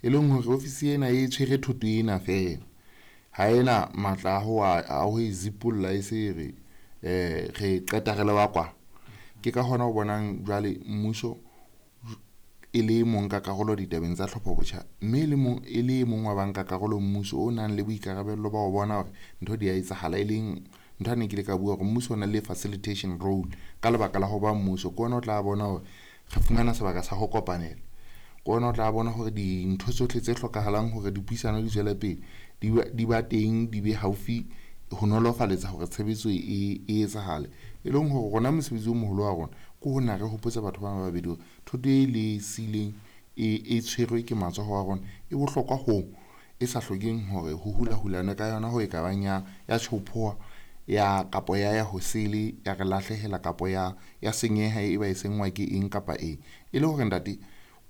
E leng hore ofisi ena e tshwere thoto ena feela, ha ena matla a ho e zipolla e se re re qeta re le ba kwa. Ke ka hona o bonang jwale mmuso e le mong ka karolo ditabeng tsa tlhopho botjha, mme e le mong wa banka karolo mmuso o nang le boikarabello ba ho bona hore ntho di a etsahala, e leng ntho ne ke ile ka bua hore mmuso o na le facilitation role ka lebaka la ho ba mmuso. Ke ona o tla bona hore re fumana sebaka sa ho kopanela, ke ona o tla bona hore dintho tsohle tse hlokahalang hore dipuisano di tswele pele di ba teng, di be haufi ho nolofaletsa hore tshebetso e etsahale. E leng hore rona mosebetsi o moholo wa rona ke ho na re hopotsa batho ba babedi hore thoto e le sileng e tshwerwe ke matsoho a rona e bohlokwa ho e sa hlokeng hore ho hula-hulana ka yona ho e ka bang ya tjhophoha ya kapo ya ho sele ya re lahlehela kapo ya senyeha e ba e sengwa ke eng kapa eng. E le hore ntate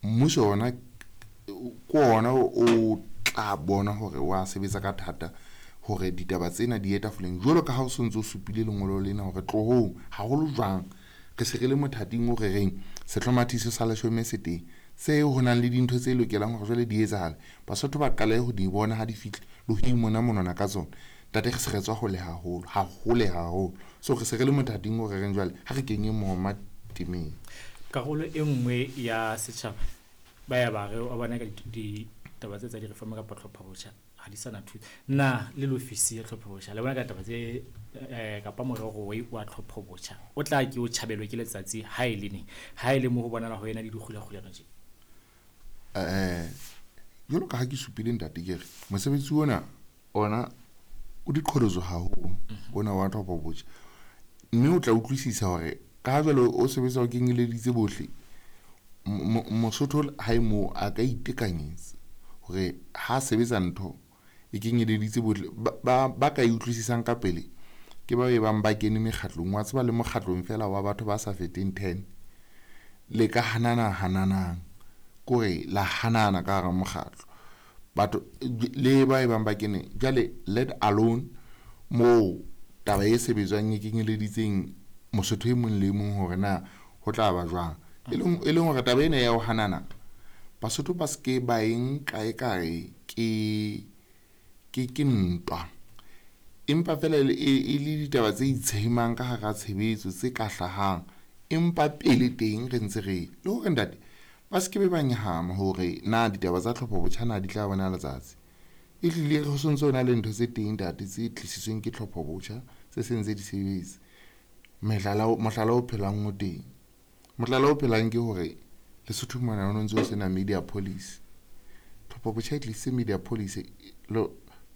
mmuso ona ke ona o tla bona hore wa sebetsa ka thata hore ditaba tsena di ye tafoleng, jwalo ka ha o sontso o supile lengolo lena hore tlohong haholo jwang re se re le mothating o re reng sehlomathiso sa leshome se teng, se ho nang le dintho tse lokelang hore jwale di etsahale, Basotho ba qale ho di bona ha di fihle le ho imona monwana ka tsona. Ntate re se re tswa hole haholo, hahole haholo, so re se re le mothating o re reng jwale ha re kenye mohoma temeng. Karolo e nngwe ya setjhaba ba ya ba re wa bona ka ditaba tse tsa di-reform kapa tlhopho botjha ha di sana thuso. Na le ofisi ya tlhopho botjha le bona ka taba tse kapa morero wa tlhopho botjha o tla ke o tjhabelwe ke letsatsi ha e le neng, ha e le mo ho bonala ho ena le dikgulakgulano tje? Jwalo ka ha ke supile ntate, ke re mosebetsi ona ona o diqholotso haholo, ona wa tlhopho botjha, mme o tla utlwisisa hore ka ha jwale o sebetsa o kenyeleditse bohle, Mosotho ha e moo a ka itekanyetsa hore ha sebetsa ntho e kenyeleditse bohle, ba ka e utlwisisang ka pele ke ba e bang ba kene mekgatlong. Wa tseba le mokgatlong fela wa batho ba sa feteng 10 le ka hanana hananang, kore la hanana ka hara mokgatlo batho le ba e bang ba kene jwale, let alone moo taba e sebetswang e kenyeleditseng Mosotho e mong le mong hore na ho tla ba jwang. E leng hore taba ena ya ho hanana Basotho ba se ke ba e nka ekare ke ntwa, empa fela e le ditaba tse itshemang ka hara tshebetso tse ka hlahang, empa pele teng re ntse re le hore ntate ba se ke be ba nyahama hore na ditaba tsa tlhopho botjha na di tla bona letsatsi. E hlile re sontso na le ntho tse teng ntate tse tlisitsweng ke tlhopho botjha tse seng tse di sebetsa. Mohlala o phelang o teng, mohlala o phelang ke hore Lesotho mona ho ntse ho sena media policy. Tlhopho botjha e tlisitse media policy,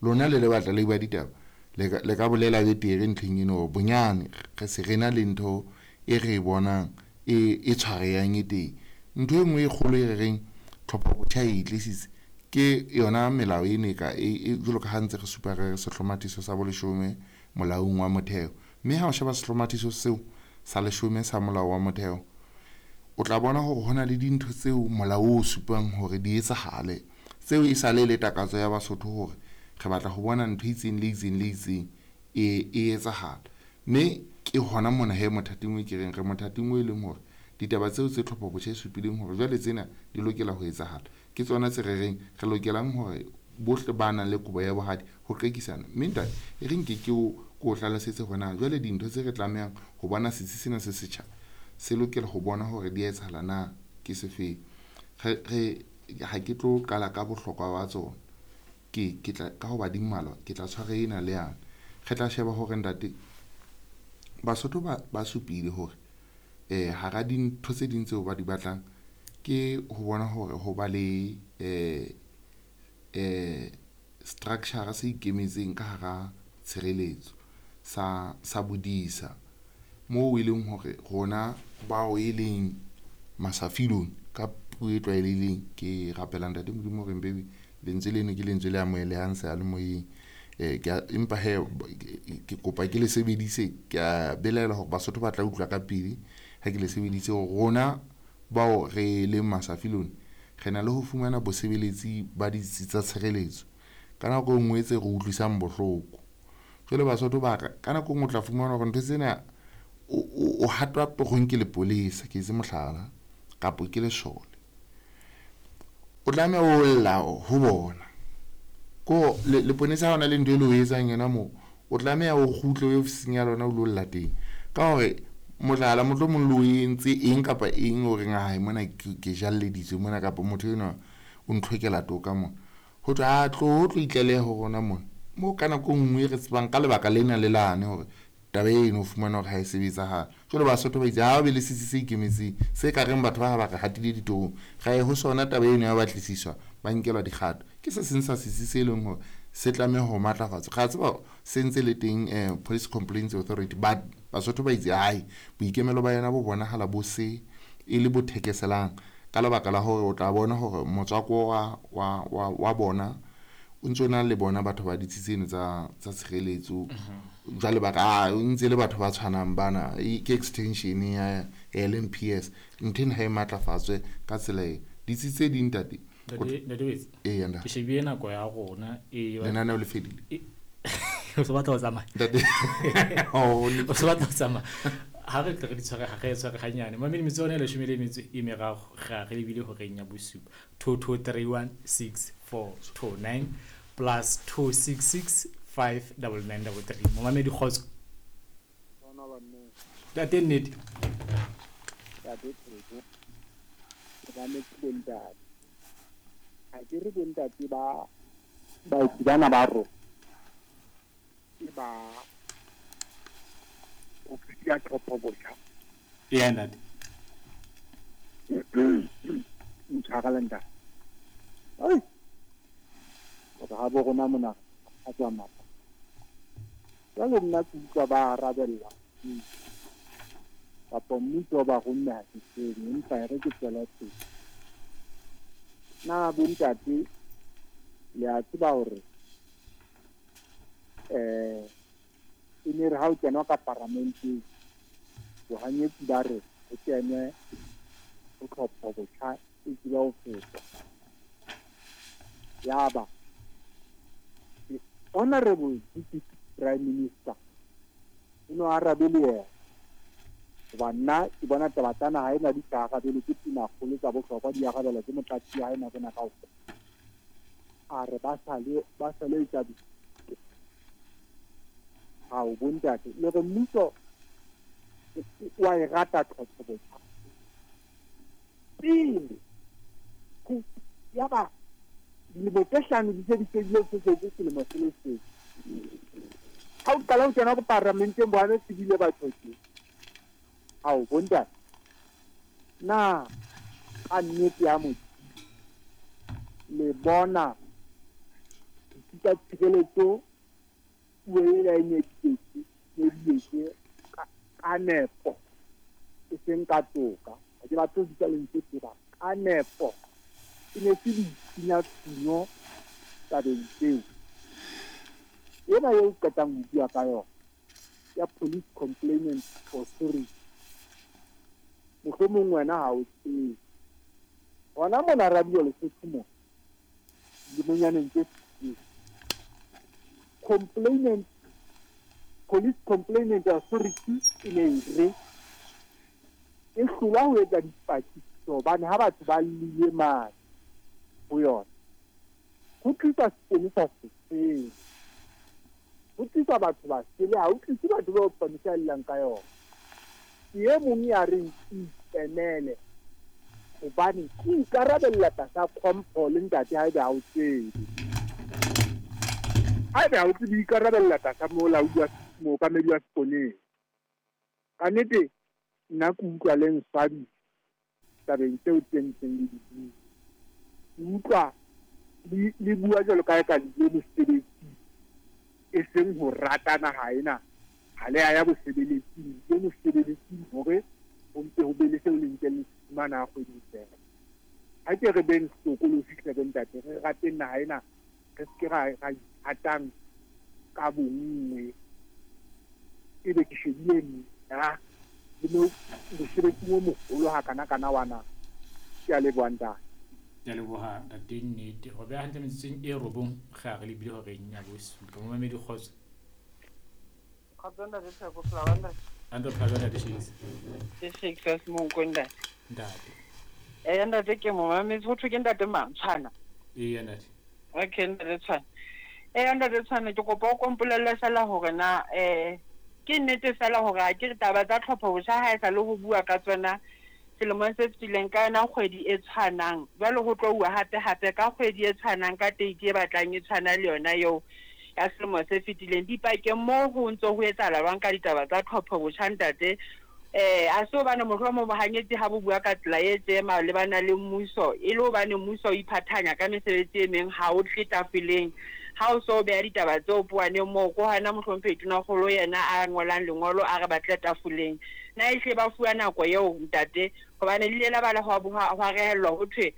lona le le batla le ba ditaba le ka bolela betere ntlheng eno hore bonyane re se re na le ntho e re bonang e tshwarehang e teng. Ntho e nngwe e kgolo e re reng tlhopho botjha e tlisitse ke yona melao ena e jwalo ka ha ntse re supa re sehlomathiso sa boleshome molaong wa motheo, mme ha o sheba sehlomathiso seo sa leshome sa molao wa motheo o tla bona hore hona le dintho tseo molao o supang hore di etsahale, tseo e sale le takatso ya Basotho hore re batla ho bona ntho e itseng le itseng le itseng e etsahala. Mme ke hona mona he mothating o ke reng re mothating o e leng hore ditaba tseo tse tlhopho botjha e supileng hore jwale tsena di lokela ho etsahala ke tsona tse re reng re lokelang hore bohle ba nang le kobo ya bohadi ho qekisana. Mme ntate e re nke ke o hlalosetse hore na jwale dintho tse re tlamehang ho bona setsi sena se setjha se lokela ho bona hore di etsahala na ke sefeng. Re ha ke tlo qala ka bohlokwa ba tsona, ke tla ka hoba di mmalwa, ke tla tshwara ena le yane. Re tla sheba hore ntate Basotho ba supile hore hara dintho tse ding tseo ba di batlang ke ho bona hore ho ba le structure se ikemetseng ka hara tshireletso sa bodisa, moo e leng hore rona bao e leng masafilong ka puo e tlwaelehileng, ke rapela ntate Modimo hore mpe lentswe leno ke lentswe le amohelehang seyalemoyeng, empa he ke kopa ke le sebedise, ke a belaela hore Basotho ba tla utlwa ka pele ha ke le sebedise. Rona bao re leng masafilong re na le ho fumana bosebeletsi ba ditsi tsa tshireletso ka nako e nngwe tse re utlwisang bohloko. Jwale Basotho ba ka nako e nngwe o tla fumana hore ntho tsena o hatwa torong ke lepolesa, ke etse mohlala, kapo ke lesole. O tlameha o lla ho bona. Ko leponesa ha ona le ntho e le o etsang yona moo, o tlameha o kgutle o ye ofising ya lona o lo lla teng. Ka hore mohlala mohlomong le o entse eng kapa eng o reng hae mona ke jalleditswe mona kapa motho enwa o ntlhokela toka mona. Ho thwe a tlo tlo itlaleha ho rona mona. Mo ka nako e nngwe re tsebang ka lebaka lena le lane hore taba eno o fumana hore ha e sebetsahale. Jwale Basotho ba itse ha o be le setsi se ikemetseng se ka reng batho ba ha ba re hatile ditorong, ra ye ho sona taba eno ya batlisiswa ba nkelwa dikgato. Ke se seng sa setsi se leng hore se tlameha ho matlafatswa. Re a tseba se ntse le teng Police Complaints Authority, but Basotho ba itse hai boikemelo ba yona bo bonahala bo se e le bo thekeselang ka lebaka la hore o tla bona hore motswako wa bona o ntso na le bona batho ba ditsi tseno tsa tshireletso. Jwale ba re o ntse le batho ba tshwanang bana, ke extension ya LMPS. Ntho ena ha e matlafatswe ka tsela e. Ditsi tse ding ntate. Ntate Wetsi. Ee, ntate. Ke shebile nako ya rona e lenaneo le fedile. O se batla ho tsamaya. Ntate. O se batla ho tsamaya. Ha re tle re di tshware ha re tshware hanyane. Mamedi metso yona e leshome le metso e meraro ra re lebile horeng ya bosupa. 22316429 plus 266 59933. Momamedi kgotso. Ntate nnete. Ntate Theko. Ke mametse bontate. Ha ke re bontate ba baeti bana ba rona ke ba ofisi ya tlhopho botjha. Eya ntate. Ntshwarele ntate. Ai. Hore ha bo rona mona a tswa mapa. Jwale nna ke utlwa ba arabella kapa mmuso ba romme ha ke tsebe, empa e re ke tswele pele. Na bontate le a tseba hore e ne re ha o kenwa ka paramenteng bohanyetsi ba re ho kenwe ho tlhopho botjha e tseba ho fetwa. Yaba Honorable Deputy Prime Minister o no arabe le yena hoba nna ke bona taba tsa naha ena di sa arabelwe ke tonakgolo tsa bohlokwa, di arabelwa ke motlatsi wa hae nako ena kaofela. A re ba sale etsa hao bontate le re mmuso wa e rata tlhopho botjha pele yaba dilemo tse hlano di se di fedile, se setse selemo se le seng. Ha o qala ho kena ko paramenteng bona tsebile batho tje. Hao bontate na ka nnete ya motho le bona ditsi tsa tshireletso puo ela e nyeditswe ka nepo e seng ka toka. Ha ke batle ho bitsa lentswe tseba ka nepo e ne se ditshinyatshunyo tabeng tseo. Ena eo qetang ho bua ka yona ya Police Complainant Authority, mohlomong wena ha o tsebe. Hona mona radio Lesotho mona dilemonyaneng tse fetileng, complainant Police Complainant Authority e ne e re e hlolwa ho etsa dipatlisiso hobane ha batho ba llile mane ho yona ho tliswa seponesa sesele, ho tliswa batho ba sele, ha ho tlise batho bao seponesa a llang ka yona. Ke e mong ya reng ke ikemele hobane ke ikarabella tlasa tlhompho le ntate haebe ha o tsebe. Haebe ha o tsebe ikarabella tlasa molaodi wa mookamedi wa seponesa. Ka nnete nna ke utlwa le nswabisa tabeng tseo tse ntseng le di bua. Ke utlwa le bua jwalo ka eka le ile mosebetsing, e seng ho rata naha ena. Ha le a ya bosebeletsing, le mosebeletsing hore ho mpe ho be le seo le ntseng le se fumana ha kgwedi e fela. Ha ke re beng hlokolosi hle bontate, re rateng naha ena, re se ke ra ithatang ka bonngwe. Ebe ke shebile nna le mo mosebetsing o moholo hakana-kana wa naha. Ke a leboha ntate. Ke a leboha ntate nnete. Ho beha hantle metsotsong e robong re a re lebile horeng ya bosupa. Momamedi kgotso. Kgotso ntate Theko, phela ba ntate. Ante phela jwang ntate Shakes? Ke Shakes wa Semonkong ntate. Ntate. Eya ntate, ke mo mametse. Ho thwe ke ntate mang? Tshwana. Eya ntate. Okay ntate Tshwana. Eya ntate Tshwana, ke kopa o kompolelle fela hore na ke nnete fela hore a ke re taba tsa tlhopho botjha ha e sa le ho bua ka tsona selemong se fetileng ka yona kgwedi e tshwanang, jwale ho tlo uwa hape hape ka kgwedi e tshwanang ka date e batlang e tshwana le yona eo ya selemo se fetileng. Dipakeng moo ho ntso ho etsahala jwang ka ditaba tsa tlhopho botjha ntate? A se hobane mohlomong bohanyetsi ha bo bua ka tsela e tje malebana le mmuso, e le hobane mmuso o iphathanya ka mesebetsi e meng ha o tle tafoleng. Ha o so beha ditaba tseo powaneng moo, ke hona mohlomphehi Tonakgolo yena a ngolang lengolo a re ba tle tafoleng. Na ehlile ba fuwa nako eo ntate? Hobane le ile la ba la hwa rehellwa ho thwe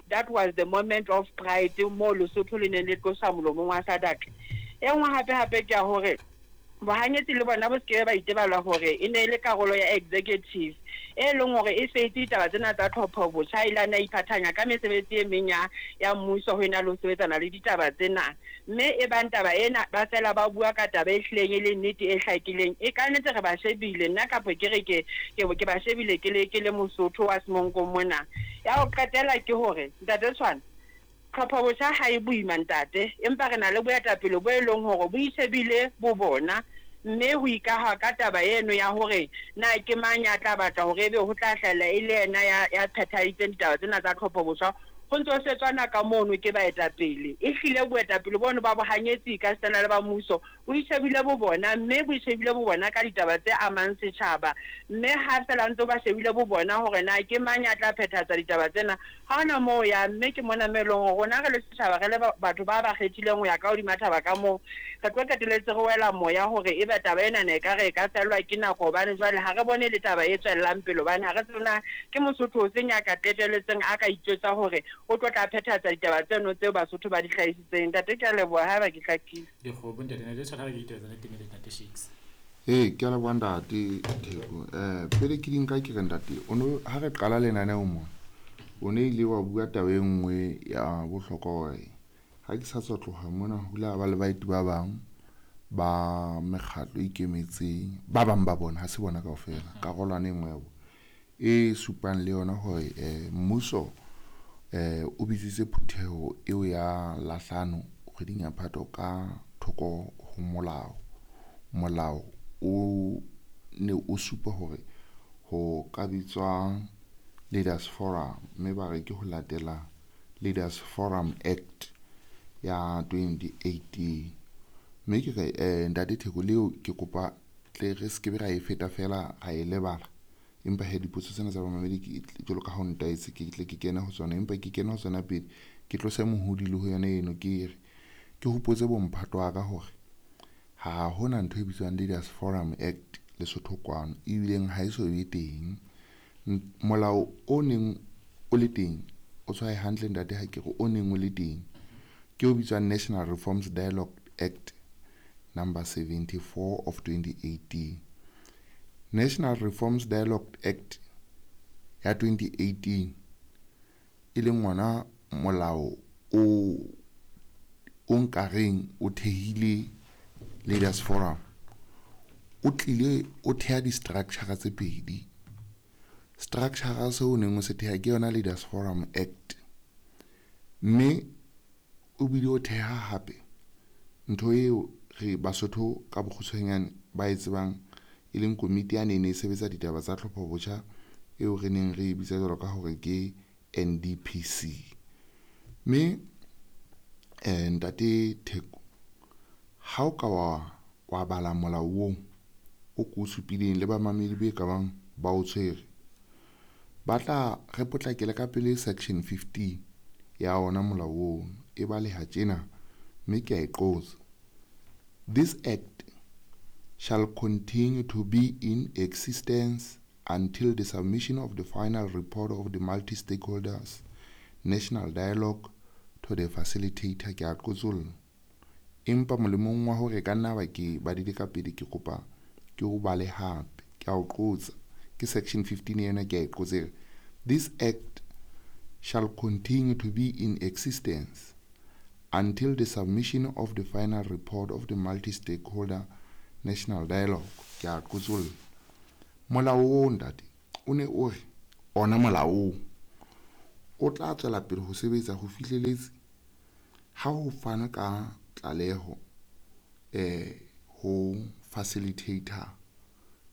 that was the moment of pride moo Lesotho le neng le tloswa molomong wa SADC. E nngwe hape hape ke ya hore bohanyetsi le bona bo se ke ba itebala hore e ne e le karolo ya executive e leng hore e feitse ditaba tsena tsa tlhopho botjha, e ile a iphathanya ka mesebetsi e meng ya mmuso ho ena le ho sebetsana le ditaba tsena. Mme e bang taba ena ba fela ba bua ka taba e hlileng e le nnete e hlakileng, e ka nnete re ba shebile, nna kapa ke re ke ba shebile ke le Mosotho wa Semonkong mona. Ya ho qetela ke hore ntate Tshwana, tlhopho botjha ha e boima ntate, empa re na le boetapele bo e leng hore bo ishebile bo bona, mme ho ikaha ka taba eno ya hore na ke mang ya tla batla hore ebe ho tla hlahella e le yena ya phethahaditseng ditaba tsena tsa tlhopho botjha, ho ntso setswana ka mono ke baetapele. E hlile boetapele bono ba bohanyetsi ka sena le ba mmuso bo ishebile bo bona, mme bo ishebile bo bona ka ditaba tse amang setjhaba. Mme ha fela ntse ba shebile bo bona hore na ke mang ya tla phethahatsa ditaba tsena, ha hona moo ya. Mme ke mona mo e leng hore rona re le setjhaba, re le batho ba ba kgethileng ho ya ka hodima thaba ka moo, re tlo qetelletse re wela moya hore ebe taba ena ne ekare e ka fellwa ke nako, hobane jwale ha re bone le taba e tswellang pele, hobane ha re tsebe na ke Mosotho o seng ya ka qetelletseng a ka itjwetsa hore o tlo tla phethahatsa ditaba tseno tseo Basotho ba di hlahisitseng. Ntate, ke a leboha haeba ke hlakile. Dikgomo ntate, ntate Tshwana, re ke ditaba tsa teng le ntate Shakes. Ee, ke a leboha ntate Theko. Pele ke di nka ke re ntate, o no ha re qala lenaneo mona, o ne ile wa bua taba e nngwe ya bohlokwa hore ha ke sa tswa tloha mona ho ile ha ba le baeti ba bang ba mekgatlo e ikemetseng, ba bang ba bona, ha se bona kaofela, karolwana e nngwe ya bona e supang le yona hore mmuso o bitsitse phutheho eo ya lahlano kgweding ya Phato ka thoko ho molao. Molao o ne o supa hore ho ka bitswa Leaders Forum, mme ba re ke ho latela Leaders Forum Act ya 2018. Mme ke re ntate Theko, leo ke kopa tle re se ke be ra e feta fela ra e lebala, empa he dipotso tsena tsa bamamedi ke jwalo ka ha o ntaetse ke tle ke kene ho tsona, empa ke kene ho tsona pele ke tlose mohodi le ho yona eno, ke re ke hopotse bomphato wa ka hore ha hona ntho e bitswang Leaders Forum Act Lesotho kwano, ebileng ha e so be teng. Molao o neng o le teng, o tshwae hantle ntate ha ke re o neng o le teng, ke o bitswang National Reforms Dialogue Act number 74 of 2018. National Reforms Dialogue Act ya 2018 e leng ngwana molao o nkareng o thehile Leaders Forum, o tlile o theha di-structure tse pedi. Structure seo o neng o se theha ke yona Leaders Forum Act, mme o bile o theha hape ntho eo re Basotho ka bokgutshwanyane ba e tsebang e leng komiti ya ne e sebetsa ditaba tsa tlhopho botjha eo re neng re e bitsa jwalo ka hore ke NDPC. Mme ntate Theko, ha o ka wa bala molao oo o ko o supileng le bamamedi be ka bang ba o tshwere, ba tla re potlakele ka pele section 15 ya ona molao oo e baleha tjena, mme ke a e qotsa: This act shall continue to be in existence until the submission of the final report of the multi-stakeholders national dialogue to the facilitator. Ke a qotsolla, empa molemong wa hore ka nna ba ke badile ka pele, ke kopa ke o bale hape, ke a o qotsa, ke section 15 ena, ke a e qotsa, This act shall continue to be in existence until the submission of the final report of the multi-stakeholder national dialogue. Ke a qotsolla. Molao oo ntate o ne o re ona molao oo o tla tswela pele ho sebetsa ho fihleletse ha ho fanwe ka tlaleho ho facilitator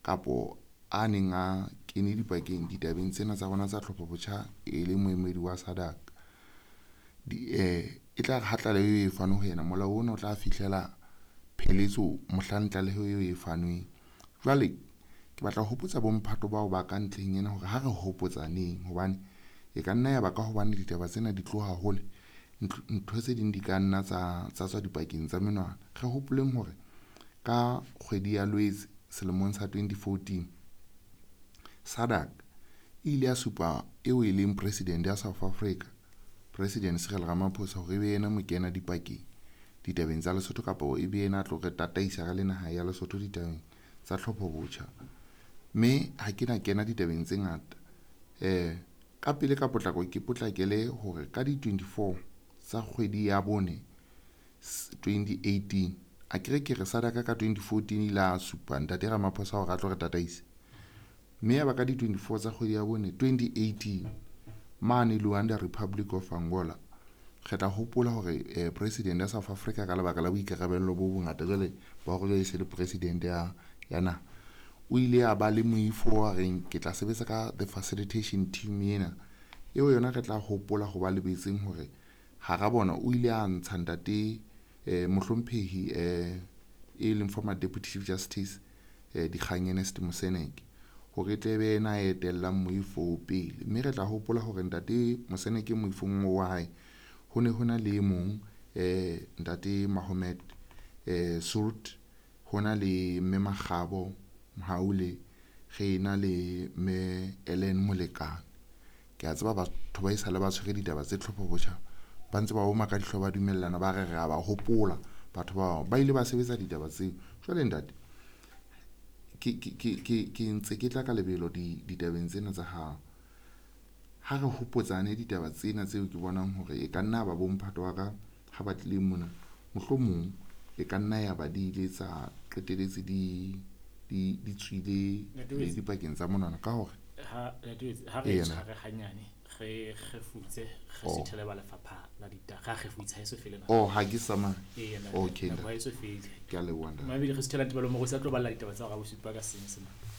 kapo a neng a kene dipakeng ditabeng tsena tsa rona tsa tlhopho botjha e le moemedi wa SADC. E tla re ha tlaleho e fanwe ho yena, molao ona o tla fihlela pheletso mohlang tlaleho eo e fanweng. Jwale ke batla ho hopotsa bomphato bao ba ka ntlheng ena hore ha re hopotsaneng, hobane e ka nna ya ba ka hobane ditaba tsena di tloha hole, ntho tse ding di ka nna tsa tswa dipakeng tsa menwana. Re hopoleng hore ka kgwedi ya Lwetse selemong sa 2014, SADC e ile ya supa eo e leng president ya South Africa, President Cyril Ramaphosa, hore e be yena mokena dipakeng ditabeng tsa Lesotho, kapa e be yena a tlo re tataisa re le naha ya Lesotho ditabeng tsa tlhopho botjha. Mme ha ke na kena ditabeng tse ngata, ka pele ka potlako ke potlakele hore ka di 24 tsa kgwedi ya bone 2018, a kere ke re SADC ka 2014 ile a supa ntate Ramaphosa hore a tlo re tataisa. Mme ya ba ka di 24 tsa kgwedi ya bone 2018 mane Luanda, Republic of Angola, re tla hopola hore president ya South Africa ka lebaka la boikarabello bo bongata jwale ba hore jwale e se le president ya naha, o ile a ba le moifo wa reng ke tla sebetsa ka the facilitation team ena eo yona re tla hopola ho ba lebetseng hore hara bona o ile a ntsha ntate mohlomphehi e leng former deputy chief justice Dikgang Ernest Moseneke hore tle be yena a etellang moifo pele. Mme re tla hopola hore ntate Moseneke moifong wa hae ho ne hona le mong ntate Mahomet Surt, hona le mme Makgabo Mhaule, re na le mme Ellen Molekane. Ke a tseba batho ba esale ba tshwere ditaba tse tlhopho botjha, ba ntse ba oma ka dihlooho, ba dumellana, ba re re a ba hopola batho bao ba ile ba sebetsa ditaba tseo. Jwale ntate, ke ntse ke tla ka lebelo ditabeng tsena tsa hao. Ha re hopotsane ditaba tsena tseo ke bonang hore e ka nna ba bomphato wa ka ha ba tlile mona, mohlomong e ka nna ya ba di ile tsa qeteletse di tswile le dipakeng tsa monwana ka hore ha re tshware hanyane re kgefutse, re sithele ba lefapha la ditaba, ra kgefutsa ha e so fele na. Oh, ha ke sama. Okay, ha e so fele. Ke a leboha ntate. Mabidi re sithela Ntebelo Morusi a tlo balla ditaba tsa hore a bosupa ka Senyesemane.